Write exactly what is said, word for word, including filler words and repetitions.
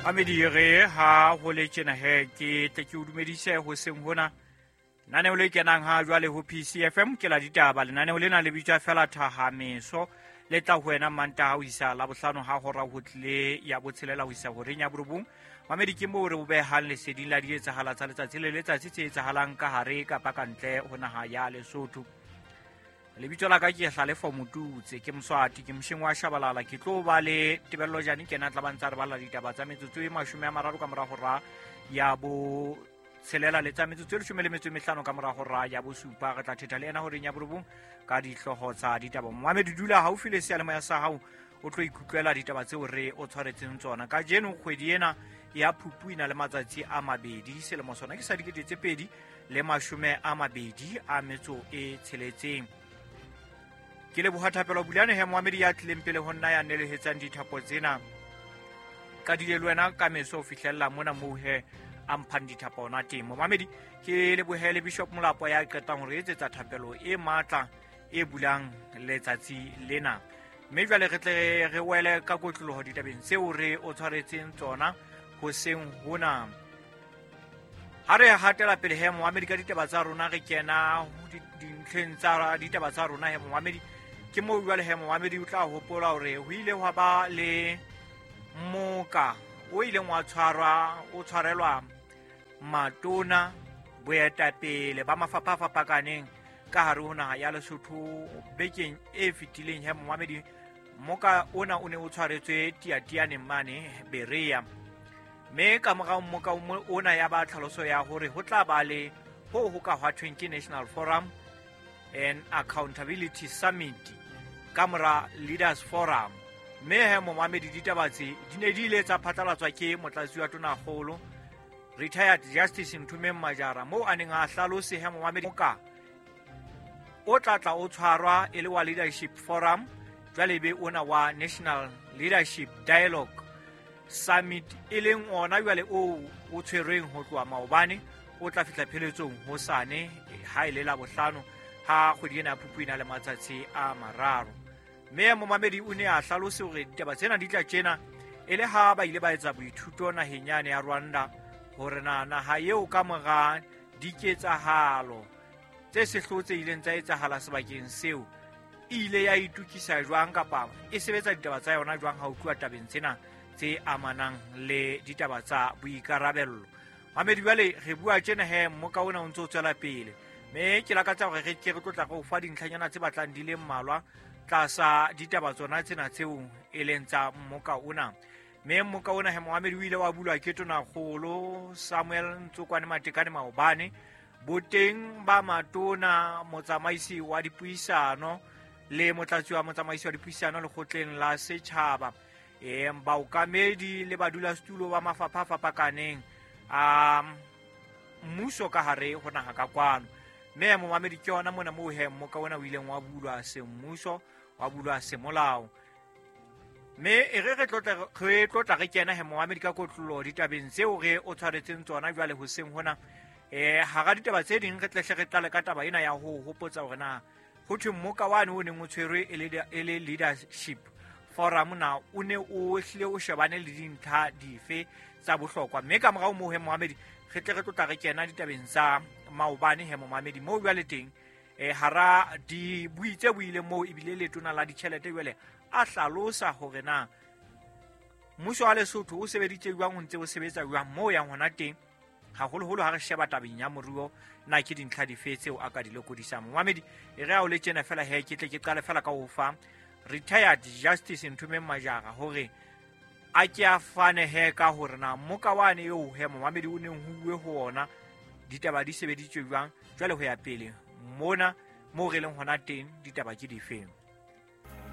Mamedi re ha ho le tjena he ke tle ke o dumedise hoseng hona. Lenaneo le kenang ha jwale ho P C F M ke la ditaba. Lenaneo lena le bitswa fela Thahameso, le tla ho wena Mantaha ho isa Labohlano ha hora ho tlile ya botshelela ho isa horeng ya borobong. Mamedi ke moo re o behang leseding la dietsahala tsa letsatsi le letsatsi tse etsahalang ka hare kapa ka ntle ho naha ya Lesotho. Lebitso la ka ke Hlalefo Motutse, ke Moswati, ke mosheng wa Shabalala. Ke tlo ba le Tebello Jane, ke yena a tla ba ntse a re balla ditaba tsa metsotso e mashome a mararo ka mora hora ya bo tshelela le tsa metsotso e leshome le metso e mehlano ka mora hora ya bosupa. Re tla thetha le yena horeng ya borobong ka dihlooho tsa ditaba. Momamedi, dula haufi le seyalemoya sa hao o tlo ikutlwela ditaba tseo re o tshwaretseng tsona. Kajeno kgwedi ena ya Phupu e na le matsatsi a mabedi, selemo sona ke sa dikete tse pedi le mashome a mabedi a metso e tsheletseng. Ke leboha Thapelo Bulane he moamedi ya tlileng pele ho nna ya nelehetsang dithapo tsena. Ka dile le wena ka meso ho fihlella mona moo he a mphang dithapo ona teng. Momamedi, ke lebohe le Bishop Molapo ya qetang hore etsetsa thapelo e matla e bulang letsatsi lena. Mme jwale re tle re wele ka kotloloho ditabeng tseo re o tshwaretseng tsona hoseng hona. Ha re hatela pele he moamedi ka ditaba tsa rona, re kena dintlheng tsa ditaba tsa rona he moamedi. Ke moo jwale he moamedi o tla hopola hore ho ile hwa ba le moka o ileng wa tshwarwa, o tshwarelwa matona boetapele ba mafapha a fapakaneng ka hare ho naha ya Lesotho bekeng e fetileng he moamedi. Moka ona o ne o tshwaretswe Tiatianeng mane Berea. Mme ka morao moka ona ya ba tlhaloso ya hore ho tla ba le ho ho ka hwathweng ke National Forum and Accountability Summit ka mora Leaders Forum. Mme he momamedi, ditaba tse di ne di ile tsa phatlalatswa ke motlatsi wa tonakgolo Retired Justice Nthumeng Majara, moo a neng a hlalose he momamedi moka o tla tla o tshwarwa e le wa Leadership Forum, jwale be ona wa National Leadership Dialogue Summit, e leng ona jwale o o tshwerweng ho tloha maobane o tla fihla pheletsong hosane ha e le Labohlano ha kgwedi ena ya Phupu e na le matsatsi a mararo. Mme momamedi o ne a hlalose hore ditaba tsena di tla tjena e le ha ba ile ba etsa boithuto naheng yane ya Rwanda, hore na naha eo ka mora diketsahalo tse sehloho tse ileng tsa etsahala sebakeng seo e ile ya itokisa jwang kapa e sebetsa ditaba tsa yona jwang ha ho tluwa tabeng tsena tse amanang le ditaba tsa boikarabello. Mamedi, jwale re bua tjena he mmoka ona o ntso o tswela pele, mme ke lakatsa hore re ke re tlo tla re o fa dintlhanyana tse batlang di le mmalwa tlasa ditaba tsona tsena tseo e leng tsa mmoka ona. Mme mmoka ona he moamedi o ile wa bulwa ke tonakgolo Samuel Ntsokwane Matekane maobane boteng ba matona, motsamaisi wa dipuisano le motlatsi wa motsamaisi wa dipuisano lekgotleng la setjhaba, e baokamedi le badulasetulo ba mafapha a fapakaneng a mmuso ka hare ho naha ka kwano. Mme momamedi, ke yona mona moo he mmoka ona o ileng wa bulwa semmuso, wa bulwa semolao. Mme e re re tlotla re tlotla re kena he momamedi ka kotlolo ditabeng tseo re o tshwaretseng tsona jwale hoseng hona. Eh hara ditaba tse ding re tlehle re tlale ka taba ena ya ho hopotsa hore na ho thwe mmoka wane o neng o tshwerwe e le e le Leadership Forum na o ne o hlile o shebane le dintlha dife tsa bohlokwa. Mme ka morao moo he momamedi re tle re tlotla re kena ditabeng tsa maobane he momamedi, moo jwale teng eh hara dibui tse buileng moo ebile letona la ditjhelete jwale a hlalosa hore na mmuso wa Lesotho o sebeditse jwang, o ntse o sebetsa jwang moo yang hona teng, haholoholo ha re sheba tabeng ya moruo na ke dintlha dife tseo a ka di lokodisang. Momamedi, e re ha o le tjena fela he ke tle ke qale fela ka ho fa Retired Justice Nthumeng Majara hore a ke a fane he ka hore na mmoka wane eo he momamedi o neng ho bue ho ona ditaba di sebeditswe jwang jwale ho ya pele mona moo re leng hona teng ditaba ke difeng.